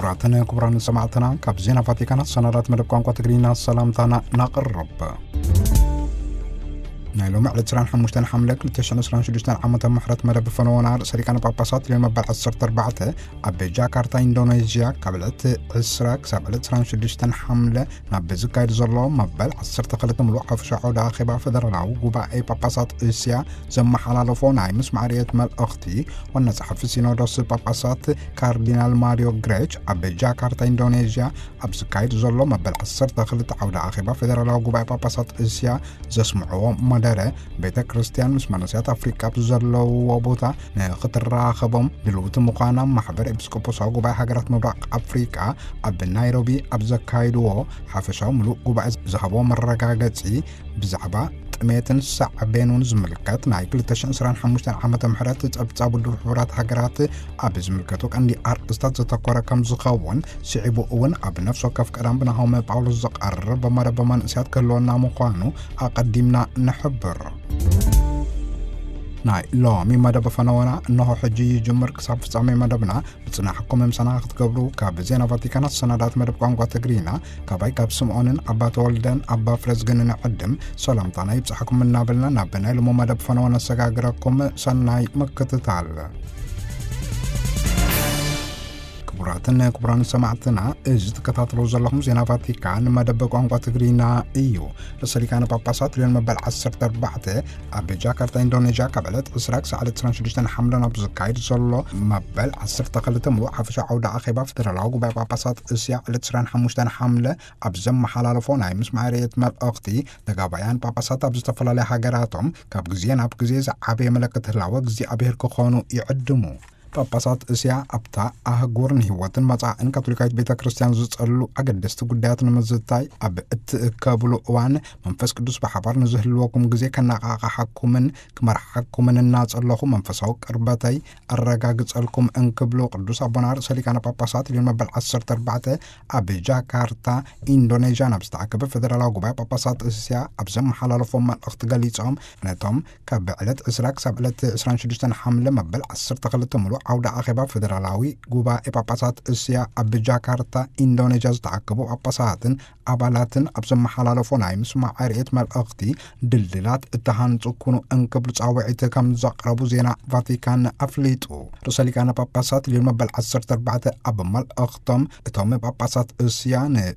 ክቡራትን ክቡራን ሰማዕትና፣ ካብ ዜና ቫቲካን ሰናዳት መደብ ቋንቋ ትግርኛ ሰላምታና ናቕርብ። ናይ ሎሚ ዕለት ዕስራን ሓሙሽተን ሓምለ ክልተ ሽሕን ዕስራን ሽዱሽተን ዓመተ ምሕረት መደብ ፈነወና ርእሰ ሊቃነ ጳጳሳት ሊዮን መበል ዓሰርተ ኣርባዕተ ኣብ ጃካርታ ኢንዶኔዥያ ካብ ዕለት ዕስራ ክሳብ ዕለት ዕስራን ሽዱሽተን ሓምለ ናብ ዝካየድ ዘሎ መበል ዓሰርተ ክልተ ምሉእ ሓፈሻዊ ዓውደ ኣኼባ ፈደራላዊ ጉባኤ ጳጳሳት እስያ ዘመሓላለፎ ናይ ምስማዕ ርእየት መልእኽቲ ዋና ጸሓፊ ሲኖዶስ ጳጳሳት ካርዲናል ማሪዮ ግሬች ኣብ ጃካርታ ኢንዶኔዥያ ኣብ ዝካየድ ዘሎ መበል ዓሰርተ ክልተ ዓውደ ኣኼባ ፈደራላዊ ጉባኤ ጳጳሳት እስያ ዘስምዕዎ መደረ፣ ቤተ ክርስቲያን ምስ መንእሰያት ኣፍሪቃ ብዘለውዎ ቦታ ንኽትራኸቦም ድልውቲ ምዃና ማሕበር ኤጲስቆጶሳዊ ጉባኤ ሃገራት ምብራቕ ኣፍሪቃ ኣብ ናይሮቢ ኣብ ዘካይድዎ ሓፈሻዊ ምሉእ ጉባኤ ዝሃቦ መረጋገጺ ብዛዕባ ጥሜትን ሳዕቤኑን ዝምልከት ናይ ክልተ ሽሕን ዕስራን ሓሙሽተን ዓመተ ምሕረት ጸብጻብ ውድብ ሕቡራት ሃገራት ኣብ ዝምልከቱ ቀንዲ ኣርእስታት ዘተኮረ ከም ዝኸውን፣ ስዒቡ እውን ኣብ ነፍሲ ወከፍ ቀዳም ብናሆም ጳውሎስ ዝቐርብ መደብ መንእሰያት ክህልወና ምዃኑ ኣቐዲምና ንሕብር። ናይ ሎሚ መደብ ፈነወና እንሆ ሕጂ ይጅምር። ክሳብ ፍጻሜ መደብና ብጽናሕኩም ምሳና ክትገብሩ ካብ ዜና ቫቲካን ኣሰናዳት መደብ ቋንቋ ትግርኛ ካባይ ካብ ስምዖንን ኣባ ተወልደን ኣባ ፍረዝግን ንዕድም ሰላምታና ይብጻሕኩም እናበልና ናብ ናይ ሎሚ መደብ ፈነወ ነሰጋግረኩም። ሰናይ ምክትታል። ክቡራትን ክቡራን ሰማዕትና፣ እዚ ትከታተሉ ዘለኹም ዜና ቫቲካን መደብ ቋንቋ ትግርኛ እዩ። ርእሰ ሊቃነ ጳጳሳት ሊዮን መበል ዓሰርተ ኣርባዕተ ኣብ ጃካርታ ኢንዶኔዥያ ካብ ዕለት ዕስራ ክሳዕ ዕለት ዕስራን ሽዱሽተን ሓምለ ናብ ዝካየድ ዘሎ መበል ዓሰርተ ክልተ ምሉእ ሓፈሻዊ ዓውደ ኣኼባ ፈደራላዊ ጉባኤ ጳጳሳት እስያ ዕለት ዕስራን ሓሙሽተን ሓምለ ኣብ ዘመሓላለፎ ናይ ምስማዕ ርእየት መልእኽቲ፣ ተጋባያን ጳጳሳት ኣብ ዝተፈላለያ ሃገራቶም ካብ ግዜ ናብ ግዜ ዝዓበየ መለክት ህላወ እግዚኣብሔር ክኾኑ ይዕድሙ። ጳጳሳት እስያ ኣብታ ኣህጉር ንህይወትን መጻእን ካቶሊካዊት ቤተ ክርስቲያን ዝጸሉ ኣገደስቲ ጉዳያት ንምዝታይ ኣብ እትእከብሉ እዋን፣ መንፈስ ቅዱስ ብሓባር ንዝህልወኩም ግዜ ከነቓቕሓኩምን ክመርሓኩምን እናጸለኹ መንፈሳዊ ቅርበተይ ኣረጋግጸልኩም እንክብሉ ቅዱስ ኣቦና ርእሰ ሊቃነ ጳጳሳት ሊዮን መበል ዓሰርተ ኣርባዕተ ኣብ ጃካርታ ኢንዶኔዥያ ናብ ዝተኣከበ ፈደራላዊ ጉባኤ ጳጳሳት እስያ ኣብ ዘመሓላለፎም መልእኽቲ ገሊጾም፣ ነቶም ካብ ዕለት ዕስራ ክሳብ ዕለት ዕስራን ሽዱሽተን ሓምለ መበል ዓሰርተ ክልተ ምሉእ ዓውደ ኣኼባ ፈደራላዊ ጉባኤ ጳጳሳት እስያ ኣብ ጃካርታ ኢንዶኔዥያ ዝተኣከቡ ጳጳሳትን ኣባላትን ኣብ ዘመሓላለፎ ናይ ምስማዕ ርእየት መልእኽቲ፣ ድልድላት እተሃንጹ ኩኑ እንክብሉ ጻውዒት ከም ዘቕረቡ ዜና ቫቲካን ኣፍሊጡ። ርእሰ ሊቃነ ጳጳሳት ሊዮን መበል ዓሰርተ ኣርባዕተ ኣብ መልእኽቶም፣ እቶም ጳጳሳት እስያ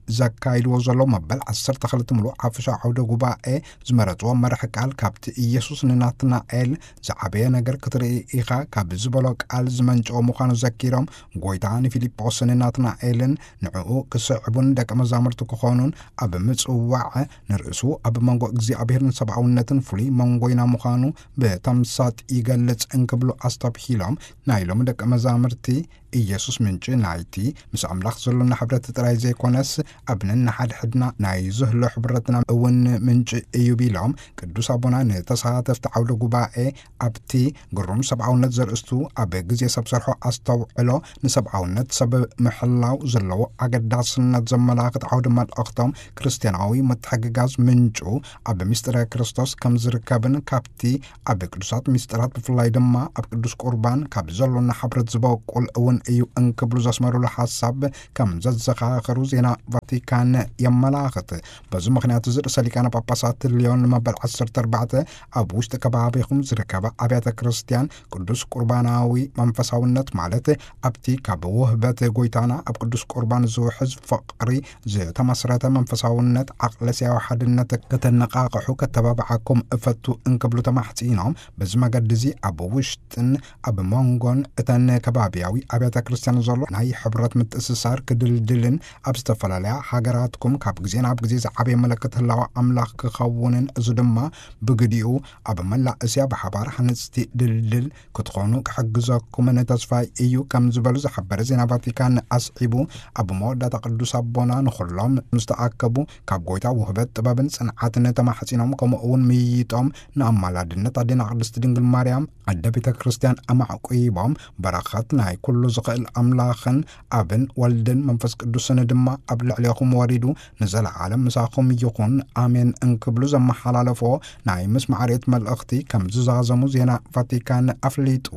ንዘካይድዎ ዘሎ መበል ዓሰርተ ክልተ ምሉእ ሓፈሻዊ ዓውደ ጉባኤ ዝመረጽዎ መርሒ ቃል፣ ካብቲ ኢየሱስ ንናትናኤል "ዝዓበየ ነገር ክትርኢ ኢኻ" ካብ ዝበሎ ቃል ዝመንጨወ ምዃኑ ዘኪሮም፣ ጎይታ ንፊልጶስን ናትናኤልን ንዕኡ ክስዕቡን ደቀ መዛሙርቲ ክኾኑን ኣብ ምጽዋዕ፣ ንርእሱ ኣብ መንጎ እግዚኣብሔርን ሰብኣውነትን ፍሉይ መንጎይና ምዃኑ ብተምሳጥ ይገልጽ እንክብሉ ኣስተብሂሎም፣ ናይ ሎሚ ደቀ መዛሙርቲ ኢየሱስ ምንጪ ናይቲ ምስ ኣምላኽ ዘሎና ሕብረት ጥራይ ዘይኮነስ፣ ኣብ ነንሓድሕድና ናይ ዝህሎ ሕብረትና እውን ምንጪ እዩ ቢሎም፣ ቅዱስ ኣቦና ንተሳተፍቲ ዓውደ ጉባኤ ኣብቲ ግሩም ሰብኣውነት ዘርእስቱ ኣብ ግዜ ሰብ ሰርሖ ኣስተውዕሎ ንሰብኣውነት ሰብ ምሕላው ዘለዎ ኣገዳስነት ዘመላኽት ዓውደ መልእኽቶም፣ ክርስትያናዊ ምትሕግጋዝ ምንጩ ኣብ ምስጢረ ክርስቶስ ከም ዝርከብን ካብቲ ኣብ ቅዱሳት ምስጢራት ብፍላይ ድማ ኣብ ቅዱስ ቁርባን ካብ ዘሎና ሕብረት ዝበቁል እውን እዩ እንክብሉ ዘስመሩሉ ሓሳብ ከም ዘዘኻኸሩ ዜና ቫቲካን የመላኽት። በዚ ምኽንያት እዚ ርእሰ ሊቃነ ጳጳሳት ሊዮን መበል ዓሰርተ ኣርባዕተ ኣብ ውሽጢ ከባቢኹም ዝርከባ ኣብያተ ክርስቲያን ቅዱስ ቁርባናዊ መንፈሳውነት፣ ማለት ኣብቲ ካብ ውህበት ጎይታና ኣብ ቅዱስ ቁርባን ዝውሕዝ ፍቕሪ ዝተመስረተ መንፈሳውነት፣ ዓቕለስያዊ ሓድነት ከተነቓቕሑ ከተባብዓኩም እፈቱ እንክብሉ ተማሕጺኖም፣ በዚ መገዲ እዚ ኣብ ውሽጥን ኣብ መንጎን እተን ከባቢያዊ ኣብያተ ክርስቲያን ዘሎ ናይ ሕብረት ምትእስሳር ክድልድልን ኣብ ዝተፈላለያ ሃገራትኩም ካብ ግዜ ናብ ግዜ ዝዓበየ መለክት ህላወ ኣምላኽ ክኸውንን፣ እዚ ድማ ብግዲኡ ኣብ መላእ እስያ ብሓባር ሃነጽቲ ድልድል ክትኾኑ ክሕግዘኩምን ተስፋይ እዩ ከም ዝበሉ ዝሓበረ ዜና ቫቲካን ኣስዒቡ፣ ኣብ መወዳእታ ቅዱስ ኣቦና ንኹሎም ምስ ተኣከቡ ካብ ጎይታ ውህበት ጥበብን ጽንዓትን ተማሕጺኖም፣ ከምኡ እውን ምይይጦም ንኣማላድነት ኣዴና ቅድስቲ ድንግል ማርያም ኣደ ቤተ ክርስቲያን ኣማዕቁይቦም፣ በረኸት ናይ ኩሉ ዝኽእል ኣምላኽን ኣብን ወልድን መንፈስ ቅዱስን ድማ ኣብ ልዕሌኹም ወሪዱ ንዘለዓለም ምሳኹም ይኹን፣ ኣሜን እንክብሉ ዘመሓላለፎ ናይ ምስማዕ ርእየት መልእኽቲ ከም ዝዛዘሙ ዜና ቫቲካን ኣፍሊጡ።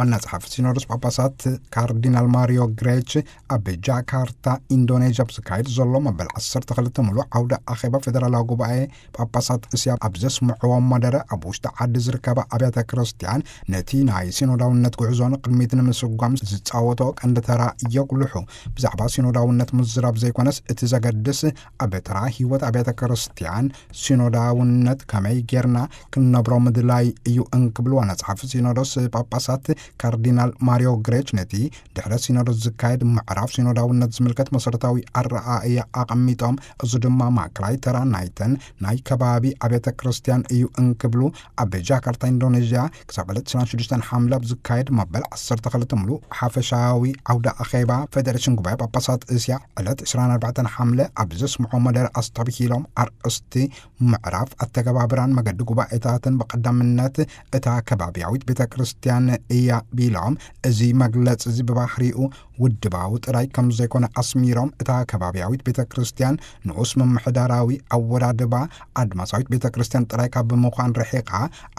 ዋና ጸሓፊ ሲኖዶስ ጳጳሳት ካርዲናል ማሪዮ ግሬች ኣብ ጃካርታ ኢንዶኔዥያ ኣብ ዝካየድ ዘሎ መበል ዓሰርተ ክልተ ምሉእ ዓውደ ኣኼባ ፌደራላዊ ጉባኤ ጳጳሳት እስያ ኣብ ዘስምዕዎ መደረ፣ ኣብ ውሽጢ ዓዲ ዝርከባ ኣብያተ ክርስቲያን ነቲ ናይ ሲኖዳውነት ጉዕዞ ንቕድሚት ንምስጓም ዝጻወቶ ቀንዲ ተራ የጉልሑ። ብዛዕባ ሲኖዳውነት ምዝራብ ዘይኮነስ፣ እቲ ዘገድስ ኣብ ተራ ህይወት ኣብያተ ክርስቲያን ሲኖዳውነት ከመይ ጌርና ክንነብሮ ምድላይ እዩ እንክብሉ ዋና ጸሓፊ ሲኖዶስ ጳጳሳት ካርዲናል ማሪዮ ግሬች ነቲ ድሕረ ሲኖዶስ ዝካየድ ምዕራፍ ሲኖዳውነት ዝምልከት መሰረታዊ ኣረኣእያ ኣቐሚጦም፣ እዚ ድማ ማእከላይ ተራ ናይተን ናይ ከባቢ ኣብያተ ክርስቲያን እዩ እንክብሉ፣ ኣብ ጃካርታ ኢንዶኔዥያ ክሳብ ዕለት ዕስራን ሽዱሽተን ሓምለ ኣብ ዝካየድ መበል ዓሰርተ ክልተ ምሉእ ሓፈሻዊ ዓውደ ኣኼባ ፌደሬሽን ጉባኤ ጳጳሳት እስያ ዕለት ዕስራን ኣርባዕተን ሓምለ ኣብ ዘስምዖ መደረ ኣስተብሂሎም፣ ኣርእስቲ ምዕራፍ ኣተገባብራን መገዲ ጉባኤታትን ብቐዳምነት እታ ከባብያዊት ቤተ ክርስቲያን እያ ቢሎም፣ እዚ መግለጺ እዚ ብባህሪኡ ውድባዊ ጥራይ ከም ዘይኮነ ኣስሚሮም፣ እታ ከባብያዊት ቤተ ክርስቲያን ንኡስ ምምሕዳራዊ ኣወዳድባ ኣድማሳዊት ቤተ ክርስቲያን ጥራይ ካብ ምዃን ርሒቓ፣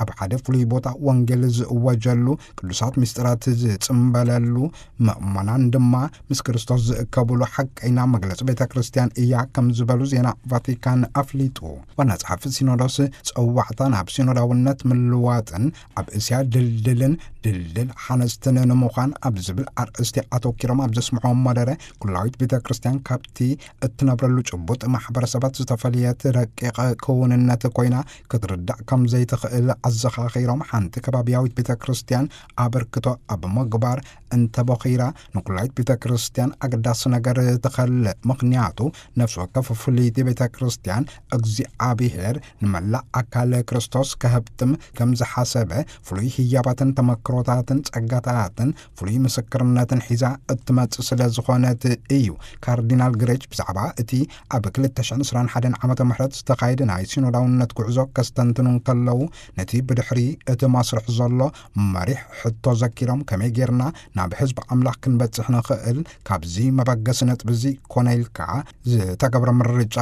ኣብ ሓደ ፍሉይ ቦታ ወንጌል ዝእወጀሉ፣ ቅዱሳት ምስጢራት ዝጽምበለሉ፣ ምእመናን ድማ ምስ ክርስቶስ ዝእከብሉ ሓቀይና መግለጺ ቤተ ክርስቲያን እያ ከም ዝበሉ ዜና ቫቲካን ኣፍሊጡ። ዋና ጸሓፊ ሲኖዶስ ጸዋዕታ ናብ ሲኖዳውነት ምልዋጥን ኣብ እስያ ድልድልን ድልድል ሓነስትን ንምዃን ኣብ ዝብል ኣርእስቲ ኣተኪሮም ኣብ ዘስምዕዎ መደረ፣ ኩላዊት ቤተ ክርስቲያን ካብቲ እትነብረሉ ጭቡጥ ማሕበረሰባት ዝተፈልየት ረቂቕ ክውንነት ኮይና ክትርዳእ ከም ዘይትኽእል ኣዘኻኺሮም፣ ሓንቲ ከባብያዊት ቤተ ክርስቲያን ኣበርክቶ ኣብ ምግባር እንተቦኺራ፣ ንኩላዊት ቤተ ክርስቲያን ኣገዳሲ ነገር ትኸልእ። ምኽንያቱ፣ ነፍሲ ወከፍ ፍልይቲ ቤተ ክርስቲያን እግዚኣብሔር ንመላእ ኣካል ክርስቶስ ከህብትም ከም ዝሓሰበ፣ ፍሉይ ህያባትን ተመክሮታትን ጸጋታትን ፍሉይ ምስክርነትን ሒዛ እትመጽእ ስለ ዝኾነት እዩ። ካርዲናል ግሬች ብዛዕባ እቲ ኣብ ክልተ ሽሕን ዕስራን ሓደን ዓመተ ምህረት ዝተኻየደ ናይ ሲኖዳውነት ጉዕዞ ከስተንትኑ እንከለዉ፣ ነቲ ብድሕሪ እቲ መስርሕ ዘሎ መሪሕ ሕቶ ዘኪሮም፣ ከመይ ጌርና ናብ ህዝቢ ኣምላኽ ክንበጽሕ ንኽእል? ካብዚ መበገሲ ነጥቢ እዚ ኮነ ኢልካ ዝተገብረ ምርጫ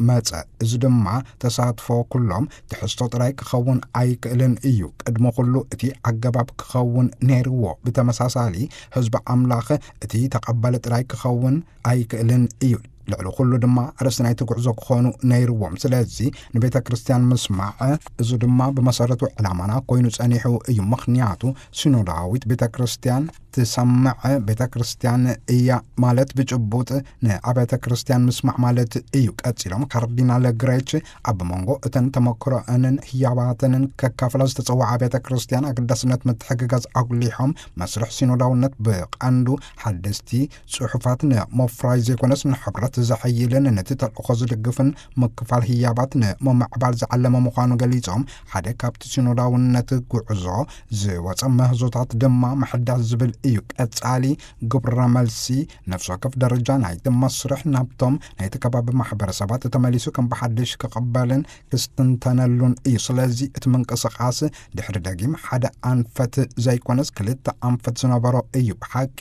መጸ። እዚ ድማ ተሳትፎ ኩሎም ትሕዝቶ ጥራይ ክኸውን ኣይክእልን እዩ። ቅድሚ ኩሉ እቲ ኣገባብ ክኸውን ነይርዎ። ብተመሳሳሊ ህዝቢ ኣምላኽ እቲ ተቐባሊ ጥራይ ክኸውን ኣይክእልን እዩ። ልዕሊ ኩሉ ድማ ኣርእስቲ ናይቲ ጉዕዞ ክኾኑ ነይርዎም። ስለዚ ንቤተ ክርስቲያን ምስማዕ፣ እዚ ድማ ብመሰረቱ ዕላማና ኮይኑ ጸኒሑ እዩ። ምኽንያቱ ሲኖዳዊት ቤተ ክርስቲያን ትሰምዕ ቤተ ክርስቲያን እያ ማለት ብጭቡጥ ንኣብያተ ክርስቲያን ምስማዕ ማለት እዩ። ቀጺሎም ካርዲናል ግሬች ኣብ መንጎ እተን ተመክሮአንን ህያባተንን ከካፍላ ዝተጸውዓ ኣብያተ ክርስቲያን ኣገዳስነት ምትሕግጋዝ ኣጉሊሖም፣ መስርሕ ሲኖዳውነት ብቐንዱ ሓደስቲ ጽሑፋት ንምፍራይ ዘይኮነስ፣ ንሕብረት ዘሐይልን ነቲ ተልእኾ ዝድግፍን ምክፋል ህያባት ንምምዕባል ዝዓለመ ምዃኑ ገሊጾም፣ ሓደ ካብቲ ሲኖዳውነት ጉዕዞ ዝወጸ ምህዞታት ድማ ምሕዳስ ዝብል እዩ። ቀጻሊ ግብረ መልሲ፣ ነፍሲ ወከፍ ደረጃ ናይቲ መስርሕ ናብቶም ናይቲ ከባቢ ማሕበረሰባት ተመሊሱ ከም ብሓድሽ ክቕበልን ክስትንተነሉን እዩ። ስለዚ እቲ ምንቅስቓስ ድሕሪ ደጊም ሓደ ኣንፈት ዘይኮነስ ክልተ ኣንፈት ዝነበሮ እዩ። ብሓቂ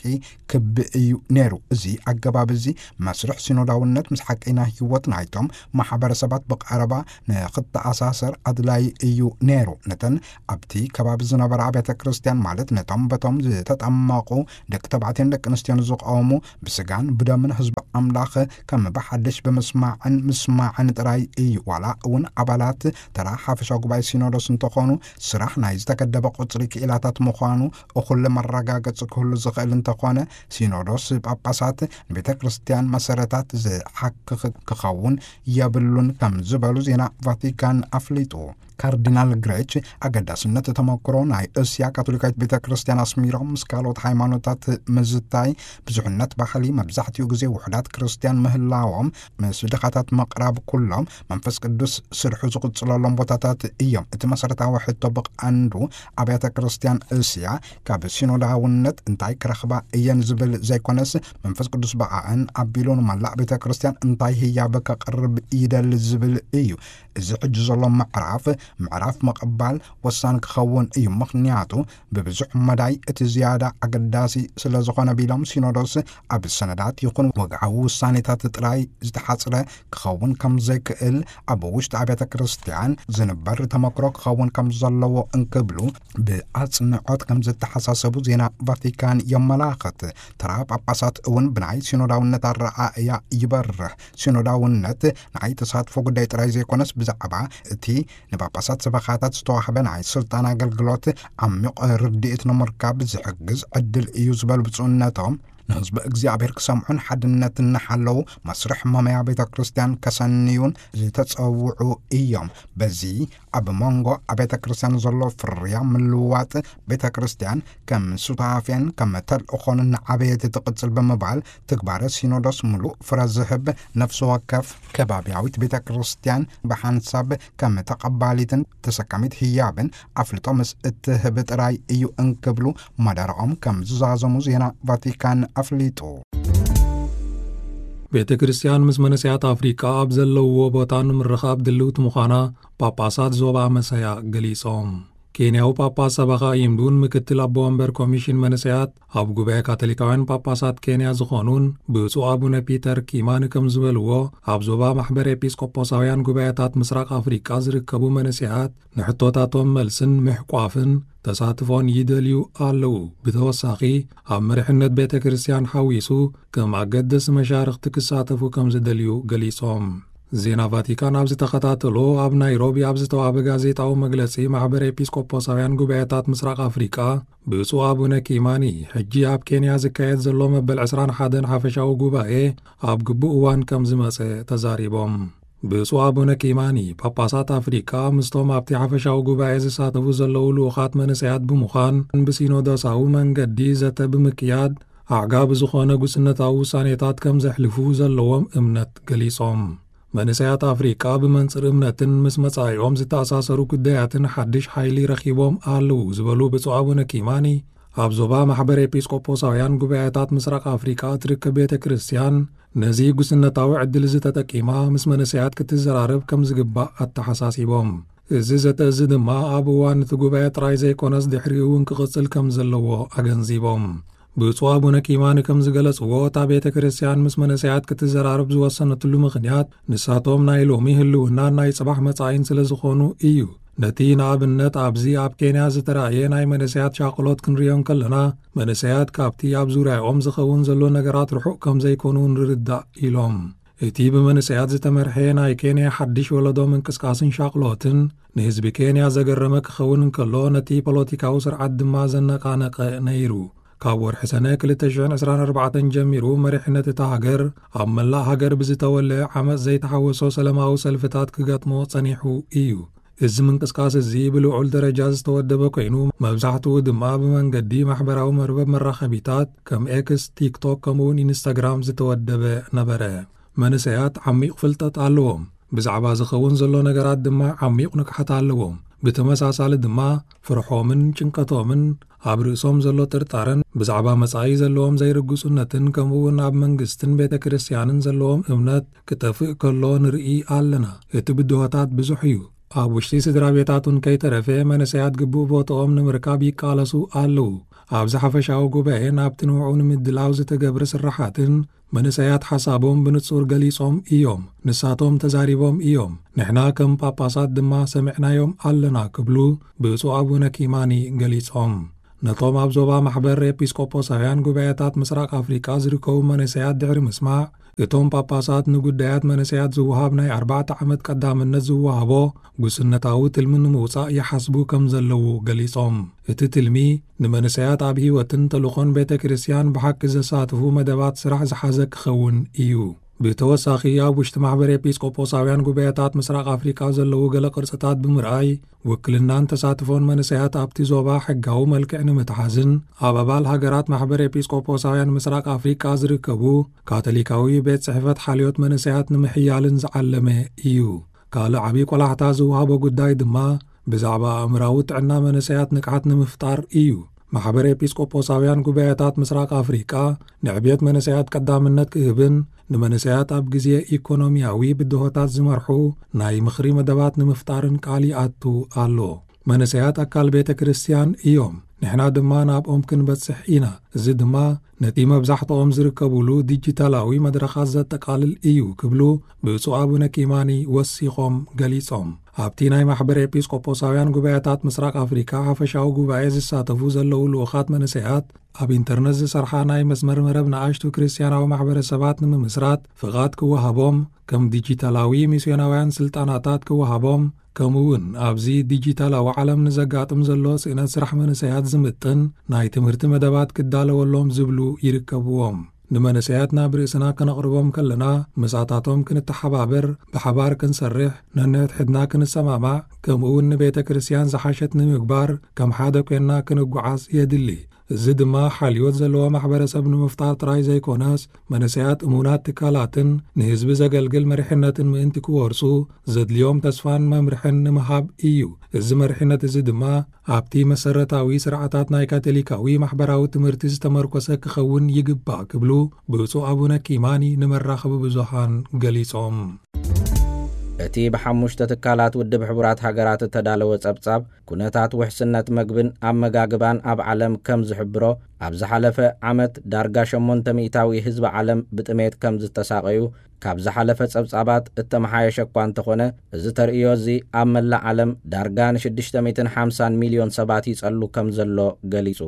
ክቢ እዩ ነይሩ። እዚ ኣገባብ እዚ መስርሕ ሲኖዳውነት ምስ ሓቀይና ህይወት ናይቶም ማሕበረሰባት ብቐረባ ንኽተኣሳሰር ኣድላዪ እዩ ነይሩ። ነተን ኣብቲ ከባቢ ዝነበራ ኣብያተ ክርስቲያን፣ ማለት ነቶም በቶም ዝተጠመቑ ደቂ ተባዕትዮን ደቂ ኣንስትዮን ዝቐወሙ፣ ብስጋን ብደምን ህዝቢ ኣምላኽ ከም ብሓድሽ ብምስማዕን ምስማዕን ጥራይ እዩ። ዋላ እውን ኣባላት ተራ ሓፈሻዊ ጉባኤ ሲኖዶስ እንተኾኑ፣ ስራሕ ናይ ዝተገደበ ቁጽሪ ክኢላታት ምዃኑ እኹል መረጋገጺ ክህሉ ዝኽእል እንተኾነ፣ ሲኖዶስ ጳጳሳት ንቤተ ክርስቲያን መሰረታት ዝሓክኽ ክኸውን የብሉን ከም ዝበሉ ዜና ቫቲካን ኣፍሊጡ። ካርዲናል ግሬች ኣገዳስነት ተመክሮ ናይ እስያ ካቶሊካዊት ቤተ ክርስቲያን ኣስሚሮም፣ ምስ ካልኦት ሃይማኖታት ምዝታይ፣ ብዙሕነት ባህሊ፣ መብዛሕትኡ ግዜ ውሑዳት ክርስቲያን ምህላዎም፣ ምስ ድኻታት ምቕራብ፣ ኩሎም መንፈስ ቅዱስ ስርሑ ዝቕጽለሎም ቦታታት እዮም። እቲ መሰረታዊ ሕቶ ብቐንዱ ኣብያተ ክርስቲያን እስያ ካብ ሲኖዳውነት እንታይ ክረኽባ እየን ዝብል ዘይኮነስ፣ መንፈስ ቅዱስ ብኣእን ኣቢሉ ንመላእ ቤተ ክርስቲያን እንታይ ህያብ ከቕርብ ይደሊ ዝብል እዩ። እዚ ሕጂ ዘሎ ምዕራፍ፣ ምዕራፍ ምቕባል ወሳኒ ክኸውን እዩ። ምኽንያቱ ብብዙሕ መዳይ እቲ ዝያዳ ኣገዳሲ ስለ ዝኾነ ቢሎም ሲኖዶስ ኣብ ሰነዳት ይኹን ወግዓዊ ውሳኔታት ጥራይ ዝተሓጽረ ክኸውን ከም ዘይክእል፣ ኣብ ውሽጢ ኣብያተ ክርስቲያን ዝንበር ተመክሮ ክኸውን ከም ዘለዎ እንክብሉ ብኣጽንዖት ከም ዝተሓሳሰቡ ዜና ቫቲካን የመላኽት። ተራ ጳጳሳት እውን ብናይ ሲኖዳውነት ኣረኣእያ ይበርህ። ሲኖዳውነት ናይ ተሳትፎ ጉዳይ ጥራይ ዘይኮነስ፣ ብዛዕባ እቲ ንጳጳሳት ሰበኻታት ዝተዋህበ ናይ ስልጣን ኣገልግሎት ዓሚቕ ርድኢት ንምርካብ ዝሕግዝ ዕድል እዩ ዝበሉ ብፁዕነቶም፣ ንህዝቢ እግዚኣብሔር ክሰምዑን ሓድነት እናሓለዉ መስርሕ መመያ ቤተ ክርስቲያን ከሰንዩን ዝተጸውዑ እዮም። በዚ ኣብ መንጎ ኣብያተ ክርስቲያን ዘሎ ፍርያ ምልዋጥ፣ ቤተ ክርስቲያን ከም ሱታፌን ከም ተልእኾን እናዓበየት ትቕጽል ብምባል፣ ትግባረ ሲኖዶስ ምሉእ ፍረ ዝህብ፣ ነፍሲ ወከፍ ከባቢያዊት ቤተ ክርስቲያን ብሓንሳብ ከም ተቐባሊትን ተሰካሚት ህያብን ኣፍልጦ ምስ እትህብ ጥራይ እዩ እንክብሉ መደረኦም ከም ዝዛዘሙ ዜና ቫቲካን ኣፍሊጡ። ቤተ ክርስቲያን ምስ መንእሰያት ኣፍሪቃ ኣብ ዘለውዎ ቦታ ንምርኻብ ድልውቲ ምዃና ጳጳሳት ዞባ መሰያ ገሊጾም። ኬንያዊ ጳጳስ ሰበኻ ኢምዱን ምክትል ኣቦ ወንበር ኮሚሽን መንእሰያት ኣብ ጉባኤ ካቶሊካውያን ጳጳሳት ኬንያ ዝኾኑን ብፁዕ ኣቡነ ፒተር ኪማን ከም ዝበልዎ፣ ኣብ ዞባ ማሕበር ኤጲስቆጶሳውያን ጉባኤታት ምስራቅ ኣፍሪቃ ዝርከቡ መንእሰያት ንሕቶታቶም መልስን ምሕቋፍን ተሳትፎን ይደልዩ ኣለዉ። ብተወሳኺ፣ ኣብ መሪሕነት ቤተ ክርስቲያን ሓዊሱ ከም ኣገደስቲ መሻርኽቲ ክሳተፉ ከም ዝደልዩ ገሊጾም። ዜና ቫቲካን ኣብ ዝተኸታተሎ፣ ኣብ ናይሮቢ ኣብ ዝተዋህበ ጋዜጣዊ መግለጺ፣ ማሕበር ኤጲስቆጶሳውያን ጉባኤታት ምስራቅ ኣፍሪቃ ብፁዕ ኣቡነ ኪማኒ፣ ሕጂ ኣብ ኬንያ ዝካየድ ዘሎ መበል ዕስራን ሓደን ሓፈሻዊ ጉባኤ ኣብ ግቡእ እዋን ከም ዝመጸ ተዛሪቦም። ብፁዕ ኣቡነ ኪማኒ፣ ጳጳሳት ኣፍሪቃ ምስቶም ኣብቲ ሓፈሻዊ ጉባኤ ዝሳተፉ ዘለዉ ልኡኻት መንእሰያት ብምዃን፣ ብሲኖዶሳዊ መንገዲ ዘተ ብምክያድ፣ ኣዕጋቢ ዝኾነ ጉስነታዊ ውሳኔታት ከም ዘሕልፉ ዘለዎም እምነት ገሊጾም። መንእሰያት ኣፍሪቃ ብመንጽር እምነትን ምስ መጻኢኦም ዝተኣሳሰሩ ጉዳያትን ሓድሽ ሓይሊ ረኺቦም ኣለዉ ዝበሉ ብፁዕ ኣቡነ ኪማኒ፣ ኣብ ዞባ ማሕበር ኤጲስቆጶሳውያን ጉባኤታት ምስራቅ ኣፍሪቃ እትርከብ ቤተ ክርስቲያን ነዚ ጉስነታዊ ዕድል እዚ ተጠቂማ ምስ መንእሰያት ክትዘራረብ ከም ዝግባእ ኣተሓሳሲቦም። እዚ ዘተ እዚ ድማ ኣብ እዋን እቲ ጉባኤ ጥራይ ዘይኮነስ ድሕሪኡ እውን ክቕጽል ከም ዘለዎ ኣገንዚቦም። ብፁዕ ኣቡነ ኪማኒ ከም ዝገለጽዎ፣ እታ ቤተ ክርስቲያን ምስ መንእሰያት ክትዘራረብ ዝወሰነትሉ ምኽንያት፣ ንሳቶም ናይ ሎሚ ህልውናን ናይ ጽባሕ መጻኢን ስለ ዝኾኑ እዩ። ነቲ ንኣብነት ኣብዚ ኣብ ኬንያ ዝተራእየ ናይ መንእሰያት ሻቕሎት ክንርእዮ እንከለና፣ መንእሰያት ካብቲ ኣብ ዙርያኦም ዝኸውን ዘሎ ነገራት ርሑቕ ከም ዘይኮኑ ንርዳእ ኢሎም። እቲ ብመንእሰያት ዝተመርሐ ናይ ኬንያ ሓድሽ ወለዶ ምንቅስቃስን ሻቕሎትን ንህዝቢ ኬንያ ዘገረመ ክኸውን እንከሎ፣ ነቲ ፖለቲካዊ ስርዓት ድማ ዘነቓነቐ ነይሩ። ካብ ወርሒ ሰነ ክልተ ሽሕን ዕስራን ኣርባዕተን ጀሚሩ፣ መሪሕነት እታ ሃገር ኣብ መላእ ሃገር ብዝተወለዐ ዓመጽ ዘይተሓወሶ ሰላማዊ ሰልፍታት ክገጥሞ ጸኒሑ እዩ። እዚ ምንቅስቃስ እዚ ብልዑል ደረጃ ዝተወደበ ኮይኑ፣ መብዛሕትኡ ድማ ብመንገዲ ማሕበራዊ መርበብ መራኸቢታት ከም ኤክስ፣ ቲክቶክ፣ ከምኡውን ኢንስታግራም ዝተወደበ ነበረ። መንእሰያት ዓሚቕ ፍልጠት ኣለዎም። ብዛዕባ ዝኸውን ዘሎ ነገራት ድማ ዓሚቕ ንቕሓት ኣለዎም። ብተመሳሳሊ ድማ ፍርሖምን ጭንቀቶምን ኣብ ርእሶም ዘሎ ጥርጣረን ብዛዕባ መጻኢ ዘለዎም ዘይርግጹነትን ከምኡውን ኣብ መንግስትን ቤተ ክርስቲያንን ዘለዎም እምነት ክጠፍእ ከሎ ንርኢ ኣለና። እቲ ብድሆታት ብዙሕ እዩ። ኣብ ውሽጢ ስድራ ቤታት እውን ከይተረፈ መንእሰያት ግቡእ ቦታኦም ንምርካብ ይቃለሱ ኣለዉ። ኣብዚ ሓፈሻዊ ጉባኤ ናብቲ ንዕኡ ንምድላው ዝተገብረ ስራሓትን መንእሰያት ሓሳቦም ብንጹር ገሊጾም እዮም። ንሳቶም ተዛሪቦም እዮም። ንሕና ከም ጳጳሳት ድማ ሰሚዕናዮም ኣለና ክብሉ ብፁዕ ኣቡነ ኪማኒ ገሊጾም። ነቶም ኣብ ዞባ ማሕበር ኤጲስቆጶሳውያን ጉባኤታት ምስራቅ ኣፍሪቃ ዝርከቡ መንእሰያት ድሕሪ ምስማዕ፣ እቶም ጳጳሳት ንጉዳያት መንእሰያት ዝወሃብ ናይ ኣርባዕተ ዓመት ቀዳምነት ዝወሃቦ ጉስነታዊ ትልሚ ንምውጻእ ይሓስቡ ከም ዘለዉ ገሊጾም። እቲ ትልሚ ንመንእሰያት ኣብ ህይወትን ተልእኾን ቤተ ክርስቲያን ብሓቂ ዘሳትፉ መደባት ስራሕ ዝሓዘ ክኸውን እዩ። ብተወሳኺ፣ ኣብ ውሽጢ ማሕበር ኤጲስቆጶሳውያን ጉባኤታት ምስራቅ ኣፍሪቃ ዘለዉ ገለ ቅርጽታት ብምርኣይ፣ ውክልናን ተሳትፎን መንእሰያት ኣብቲ ዞባ ሕጋዊ መልክዕ ንምትሓዝን ኣብ ኣባል ሃገራት ማሕበር ኤጲስቆጶሳውያን ምስራቅ ኣፍሪቃ ዝርከቡ ካቶሊካዊ ቤት ጽሕፈት ሓልዮት መንእሰያት ንምሕያልን ዝዓለመ እዩ። ካልእ ዓብዪ ቆላሕታ ዝወሃቦ ጉዳይ ድማ ብዛዕባ ኣእምራዊ ጥዕና መንእሰያት ንቕሓት ንምፍጣር እዩ። ማሕበር ኤጲስቆጶሳውያን ጉባኤታት ምስራቅ ኣፍሪቃ ንዕብየት መንእሰያት ቀዳምነት ክህብን ንመንእሰያት ኣብ ግዜ ኢኮኖሚያዊ ብድሆታት ዝመርሑ ናይ ምኽሪ መደባት ንምፍጣርን ቃል ይኣቱ ኣሎ። መንእሰያት ኣካል ቤተ ክርስቲያን እዮም፣ ንሕና ድማ ናብኦም ክንበጽሕ ኢና። እዚ ድማ ነቲ መብዛሕትኦም ዝርከቡሉ ዲጂታላዊ መድረኻት ዘጠቓልል እዩ ክብሉ ብፁዕ ኣቡነ ኪማኒ ወሲኾም ገሊጾም። ኣብቲ ናይ ማሕበር ኤጲስቆጶሳውያን ጉባኤታት ምስራቅ ኣፍሪካ ሓፈሻዊ ጉባኤ ዝሳተፉ ዘለዉ ልኡኻት መንእሰያት ኣብ ኢንተርነት ዝሰርሓ ናይ መስመር መረብ ንኣሽቱ ክርስትያናዊ ማሕበረሰባት ንምምስራት ፍቓድ ክወሃቦም፣ ከም ዲጂታላዊ ሚስዮናውያን ስልጣናታት ክወሃቦም፣ ከምኡ እውን ኣብዚ ዲጂታላዊ ዓለም ንዘጋጥም ዘሎ ስእነት ስራሕ መንእሰያት ዝምጥን ናይ ትምህርቲ መደባት ክዳለወሎም ዝብሉ ይርከብዎም። ንመንእሰያት ናብ ርእስና ከነቕርቦም ከለና፣ ምሳታቶም ክንተሓባበር፣ ብሓባር ክንሰርሕ፣ ነንሕድሕድና ክንሰማማዕ፣ ከምኡ እውን ንቤተ ክርስቲያን ዝሓሸት ንምግባር ከም ሓደ ኮይንና ክንጓዓዝ የድሊ። እዚ ድማ ሓልዮት ዘለዎ ማሕበረሰብ ንምፍጣር ጥራይ ዘይኮነስ፣ መንእሰያት እሙናት ትካላትን ንህዝቢ ዘገልግል መሪሕነትን ምእንቲ ክወርሱ፣ ዘድልዮም ተስፋን መምርሕን ንምሃብ እዩ። እዚ መሪሕነት እዚ ድማ ኣብቲ መሰረታዊ ስርዓታት ናይ ካቶሊካዊ ማሕበራዊ ትምህርቲ ዝተመርኮሰ ክኸውን ይግባእ ክብሉ ብፁዕ ኣቡነ ኪማኒ ንመራኸቢ ብዙሃን ገሊጾም። እቲ ብሓሙሽተ ትካላት ውድብ ሕቡራት ሃገራት እተዳለወ ጸብጻብ፣ ኩነታት ውሕስነት መግብን ኣመጋግባን ኣብ ዓለም ከም ዝሕብሮ፣ ኣብ ዝሓለፈ ዓመት ዳርጋ ሸሞንተ ሚእታዊ ህዝቢ ዓለም ብጥሜት ከም ዝተሳቐዩ ካብ ዝሓለፈ ጸብጻባት እተመሓየሸ እኳ እንተኾነ፣ እዚ ተርእዮ እዚ ኣብ መላእ ዓለም ዳርጋ ንሽዱሽተ ሚእትን ሓምሳን ሚልዮን ሰባት ይጸሉ ከም ዘሎ ገሊጹ።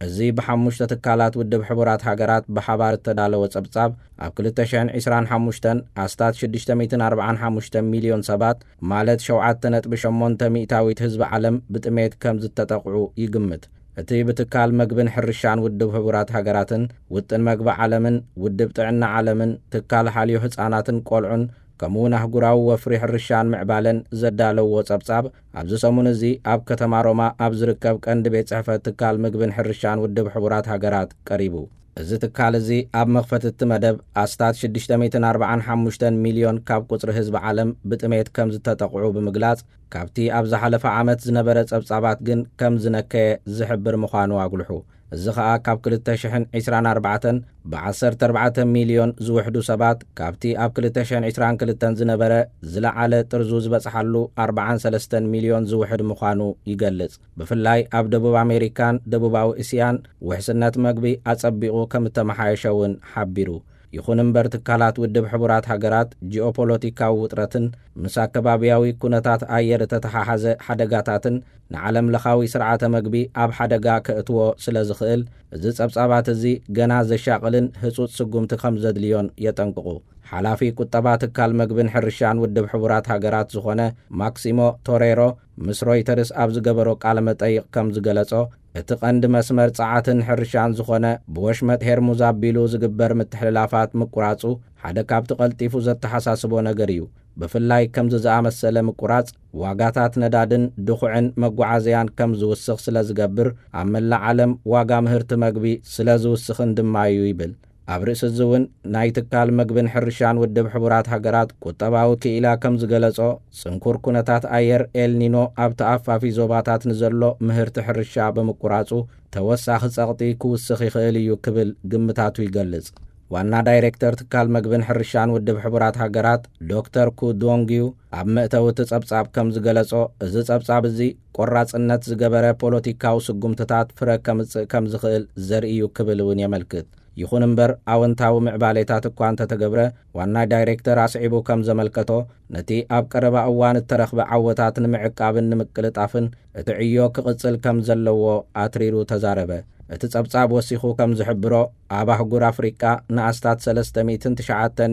እዚ ብሓሙሽተ ትካላት ውድብ ሕቡራት ሃገራት ብሓባር እተዳለወ ጸብጻብ፣ ኣብ ክልተ ሽሕን ዕስራን ሓሙሽተን ኣስታት ሽዱሽተ ሚእትን ኣርባዓን ሓሙሽተን ሚልዮን ሰባት፣ ማለት ሸውዓተ ነጥቢ ሸሞንተ ሚእታዊት ህዝቢ ዓለም ብጥሜት ከም ዝተጠቕዑ ይግምት። እቲ ብትካል መግብን ሕርሻን ውድብ ሕቡራት ሃገራትን፣ ውጥን መግቢ ዓለምን፣ ውድብ ጥዕና ዓለምን፣ ትካል ሓልዮ ህጻናትን ቆልዑን፣ ከምኡውን ኣህጉራዊ ወፍሪ ሕርሻን ምዕባለን ዘዳለውዎ ጸብጻብ፣ ኣብዚ ሰሙን እዚ ኣብ ከተማ ሮማ ኣብ ዝርከብ ቀንዲ ቤት ጽሕፈት ትካል ምግብን ሕርሻን ውድብ ሕቡራት ሃገራት ቀሪቡ። እዚ ትካል እዚ ኣብ መኽፈቲ እቲ መደብ ኣስታት ሽዱሽተ ሚእትን ኣርባዓን ሓሙሽተን ሚልዮን ካብ ቁጽሪ ህዝቢ ዓለም ብጥሜት ከም ዝተጠቕዑ ብምግላጽ፣ ካብቲ ኣብ ዝሓለፈ ዓመት ዝነበረ ጸብጻባት ግን ከም ዝነከየ ዝሕብር ምዃኑ ኣጉልሑ። እዚ ኸኣ ካብ ክልተ ሽሕን ዕስራን ኣርባዕተን ብዓሰርተ ኣርባዕተ ሚልዮን ዝውሕዱ ሰባት፣ ካብቲ ኣብ ክልተ ሽሕን ዕስራን ክልተን ዝነበረ ዝለዓለ ጥርዙ ዝበጽሓሉ ኣርባዓን ሰለስተን ሚልዮን ዝውሕድ ምዃኑ ይገልጽ። ብፍላይ ኣብ ደቡብ ኣሜሪካን ደቡባዊ እስያን ውሕስነት መግቢ ኣጸቢቑ ከም እተመሓየሸ እውን ሓቢሩ። ይኹን እምበር፣ ትካላት ውድብ ሕቡራት ሃገራት ጂኦፖለቲካዊ ውጥረትን ምስ ኣከባብያዊ ኩነታት ኣየር እተተሓሓዘ ሓደጋታትን ንዓለም ለኻዊ ስርዓተ መግቢ ኣብ ሓደጋ ከእትዎ ስለ ዝኽእል፣ እዚ ጸብጻባት እዚ ገና ዘሻቕልን ህጹጽ ስጉምቲ ከም ዘድልዮን የጠንቅቑ። ሓላፊ ቁጠባ ትካል መግብን ሕርሻን ውድብ ሕቡራት ሃገራት ዝኾነ ማክሲሞ ቶሬሮ ምስ ሮይተርስ ኣብ ዝገበሮ ቃለ መጠይቕ ከም ዝገለጾ፣ እቲ ቀንዲ መስመር ጸዓትን ሕርሻን ዝኾነ ብወሽመጥ ሄርሙዝ ኣቢሉ ዝግበር ምትሕልላፋት ምቁራጹ ሓደ ካብቲ ቀልጢፉ ዘተሓሳስቦ ነገር እዩ። ብፍላይ ከምዚ ዝኣመሰለ ምቁራጽ ዋጋታት ነዳድን ድኹዕን መጓዓዝያን ከም ዝውስኽ ስለ ዝገብር፣ ኣብ መላእ ዓለም ዋጋ ምህርቲ መግቢ ስለ ዝውስኽን ድማ እዩ ይብል። ኣብ ርእሲ እዚ እውን ናይ ትካል መግብን ሕርሻን ውድብ ሕቡራት ሃገራት ቁጠባዊ ክኢላ ከም ዝገለጾ፣ ጽንኩር ኩነታት ኣየር ኤልኒኖ ኣብ ተኣፋፊ ዞባታት ንዘሎ ምህርቲ ሕርሻ ብምቁራጹ፣ ተወሳኺ ጸቕጢ ክውስኽ ይኽእል እዩ ክብል ግምታቱ ይገልጽ። ዋና ዳይሬክተር ትካል መግብን ሕርሻን ውድብ ሕቡራት ሃገራት ዶክተር ኩ ዶንግዩ ኣብ መእተዊ እቲ ጸብጻብ ከም ዝገለጾ፣ እዚ ጸብጻብ እዚ ቆራጽነት ዝገበረ ፖለቲካዊ ስጉምትታት ፍረ ከምጽእ ከም ዝኽእል ዘርኢ እዩ ክብል እውን የመልክት። ይኹን እምበር፣ ኣወንታዊ ምዕባሌታት እኳ እንተተገብረ፣ ዋና ዳይሬክተር ኣስዒቡ ከም ዘመልከቶ፣ ነቲ ኣብ ቀረባ እዋን እተረኽበ ዓወታት ንምዕቃብን ንምቅልጣፍን እቲ ዕዮ ክቕጽል ከም ዘለዎ ኣትሪሩ ተዛረበ። እቲ ጸብጻብ ወሲኹ ከም ዝሕብሮ፣ ኣብ ኣህጉር ኣፍሪቃ ንኣስታት ሰለስተ ሚእትን ትሽዓተን